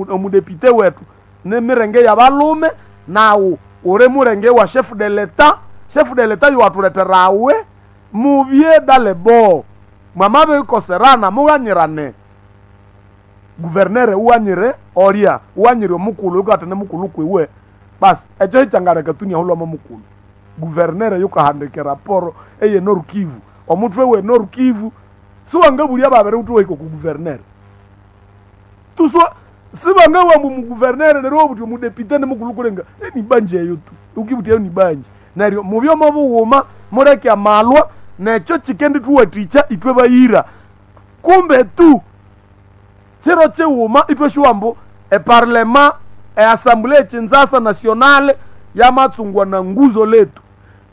Omudepite wetu ni mirenge y'abalume, nawu uli murenge wa chef de l'etat. Chef de l'etat yuwathuleterawe mubye dalebo. Mwamabikoserana mughanyirane. Guvernere ughanyire olya, ughanyire omukulhu yukatene mukulhu kwiwe. Basi ekyo kyangaleka tu inahulhwamo mukulhu. Guvernere yukahandika eraporo eye Nord Kivu, omuthwe we Nord Kivu siwangabulya babiri wuthi wahika oku guvernere. Tuswa sibangabugha ambu omuguvernere neryo iwabugha wuthi omudepite nimukulhu kulenga enibanja eyo tu, wukibugha wuthi eyo nibanja. Neryo mubye omo bughuma muleke amalwa nekyo kyikendithuwathikya ithwe bayira. Kumbe tu kiro kighuma ithwasyuwa ambu eparlema, eassembly ekyinzasa nationale yamatsungwa na nguzo letu,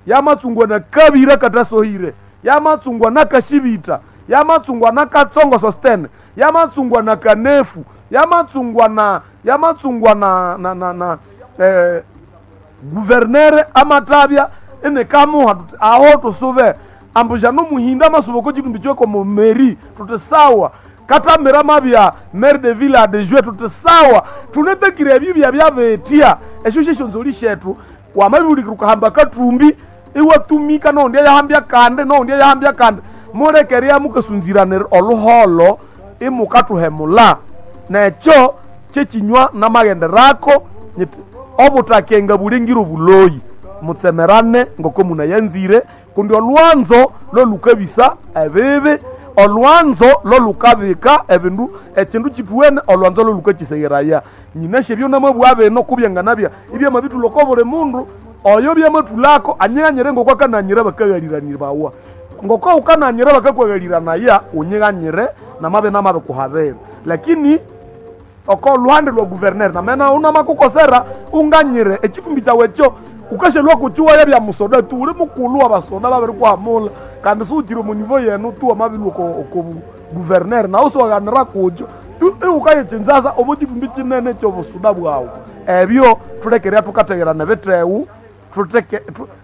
yamatsungwa na kabira katasohire, yamatsungwa na kashibita, yamatsungwa na katsongo sostene, yamatsungwa na kanefu, yamatsungwa na yamatsungwa na na na, na guvernere amatabya inikamuha tuti aho tusube ambu jano muhinda amasuba oko kitumbi kyoko mu meri tuti sawa, katamira mabya maire de ville adjoint tuti sawa. Tunetekire ebyo byabyabetya esyo syesyonzoli syethu. Wamabibulikira ukahamba kathumbi iwatumika nowundi eyahambya kandi nowundi eyahambya kandi, mulekerya mukasunziranira oluholho imukathuhemula. Nekyo kyekinywa namaghenderako nyithi obuthakenga bulingire obuloyi, mutsemerane ngoko munayanzire, kundi olwanzo lolukabisa ebibi, olwanzo lolukabika ebindu ekindu kithuwene, olwanzo lolukakyisegheraya. Nyinasi ebyo namabugha bino kubyanganabya ibyamabithulha oko buli mundu oyo byamathulhako anyighanyire ngoko akananyira bakaghaliranibwawa. Ngoko wukananyira bakakwaghalirania, unyighanyire namabya namabikuhabira. Lakini oko lhuhande lwa guvernere namena unamakukosera unganyire ekithumbi kyawu ekyo wukasyalhwa kukiwaya bya musoda tu, wuli mukulhu wabasoda babirikuhamulha kandi siwukyiri omo nivo yenu tu wamabilhwa oko guvernere nawu siwaghanira kukyo tu iwukayikyinzasa omo kithumbi kinene ekyobusuda bwawu. Ebyo thulekere thukategherana ebithewu,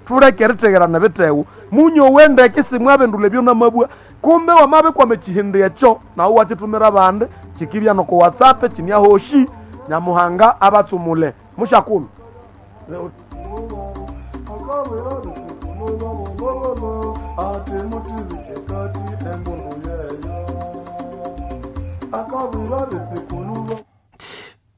thuleke erithegherana ebithewu. Munyowe ndeke simwabindulha ebyo namabugha, kumbe wamabikwama ekihindi ekyo nawu iwakyithumira abandi, kyikibya noko WhatsApp kyiniahoshi. Nyamuhanga abatsumule. Mushakulhu.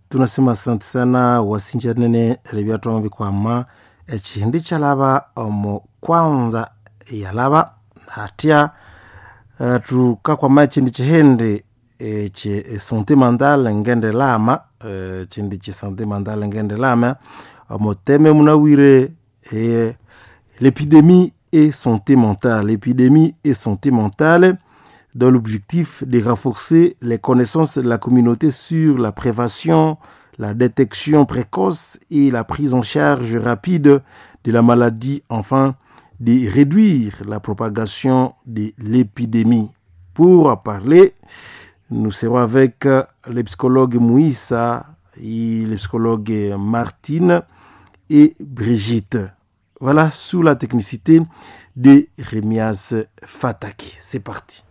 Tunasema asante sana wasinja nene rebyatwama bikwama ekihindi kyalaba omu kwanza yalaba hatya tukakwama ekindi kihindi ekye santé mentale ngende lama, ekindi kye santé mentale ngende lama omuteme munawire l'épidémie et santé mentale, l'épidémie et santé mentale dans l'objectif de renforcer les connaissances de la communauté sur la prévention, la détection précoce et la prise en charge rapide de la maladie, enfin de réduire la propagation de l'épidémie. Pour en parler, nous serons avec le psychologue Mouissa et le psychologue Martine et Brigitte. Voilà, sous la technicité de Remias Fataki. C'est parti.